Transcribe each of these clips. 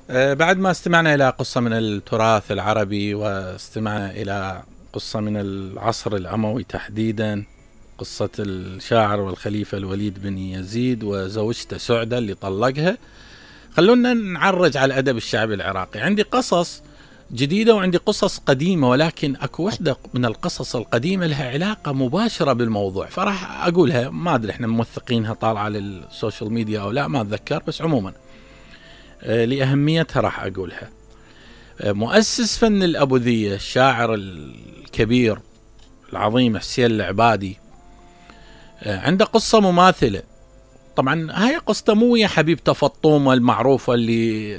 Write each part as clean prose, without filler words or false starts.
بعد ما استمعنا إلى قصة من التراث العربي، واستمعنا إلى قصة من العصر الأموي تحديدا، قصة الشاعر والخليفة الوليد بن يزيد وزوجته سعدة اللي طلقها. خلونا نعرج على الأدب الشعبي العراقي. عندي قصص جديدة وعندي قصص قديمة، ولكن أكو وحدة من القصص القديمة لها علاقة مباشرة بالموضوع، فراح أقولها. ما أدري إحنا موثقينها طالعة على السوشيال ميديا أو لا، ما أتذكر، بس عموما لأهميتها راح أقولها. مؤسس فن الأبوذية الشاعر الكبير العظيم حسين العبادي عنده قصة مماثلة. طبعا هاي قصة مو يا حبيبته فطومة المعروفة اللي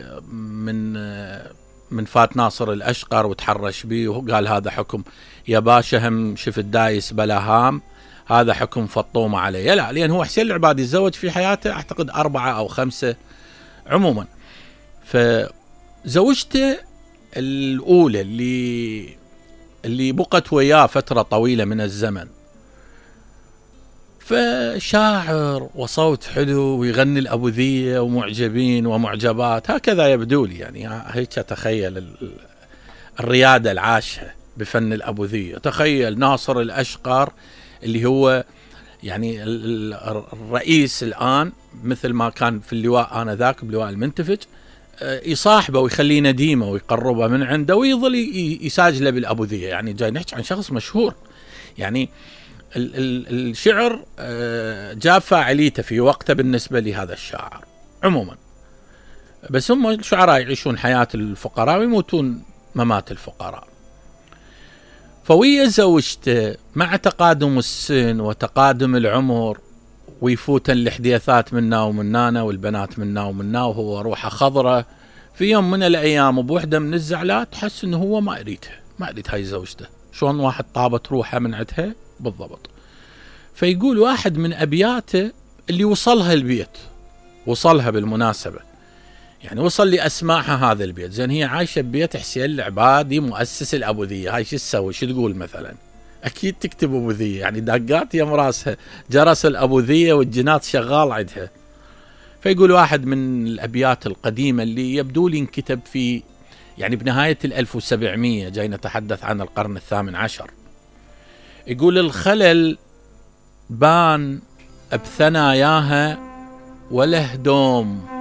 من فات ناصر الأشقر وتحرش بيه وقال هذا حكم يا باشا، هم شفت دايس بلا هام، هذا حكم فطومة عليه. لا، لأن هو حسين العبادي تزوج في حياته أعتقد 4 أو 5 عموما. فزوجته الأولى اللي بقت وياه فترة طويلة من الزمن، فشاعر وصوت حلو ويغني الأبوذية ومعجبين ومعجبات، هكذا يبدو لي. يعني هيك تخيل الريادة العاشة بفن الأبوذية. تخيل ناصر الأشقر اللي هو يعني الرئيس الآن، مثل ما كان في اللواء آنذاك بلواء المنتفج، يصاحبه ويخليه نديمه ويقربه من عنده ويظل يساجله بالأبوذية. يعني جاي نحكي عن شخص مشهور. يعني الشعر جاب فاعليته في وقته بالنسبة لهذا الشاعر عموما. بس هم الشعراء يعيشون حياة الفقراء ويموتون ممات الفقراء. فوية زوجته مع تقادم السن وتقادم العمر ويفوتن الحديثات منا ومنانا والبنات منا ومنا، وهو روحه خضرة. في يوم من الأيام بوحدة من الزعلات حس إنه هو ما أريد هاي زوجته. شلون واحد طابت روحه من عندها بالضبط. فيقول واحد من أبياته اللي وصلها البيت، وصلها بالمناسبة، يعني وصل لأسماعها هذا البيت. زين هي عايشة ببيت حسين العبادي مؤسس الأبوذية، هاي شو تسوي؟ شو تقول مثلا؟ أكيد تكتب أبوذية، يعني داقات يم راسها جرس الأبوذية والجنات شغال عندها. فيقول واحد من الأبيات القديمة اللي يبدو لي انكتب في يعني بنهاية 1700، جاي نتحدث عن القرن 18. يقول الخلل بان بثناياها وله دوم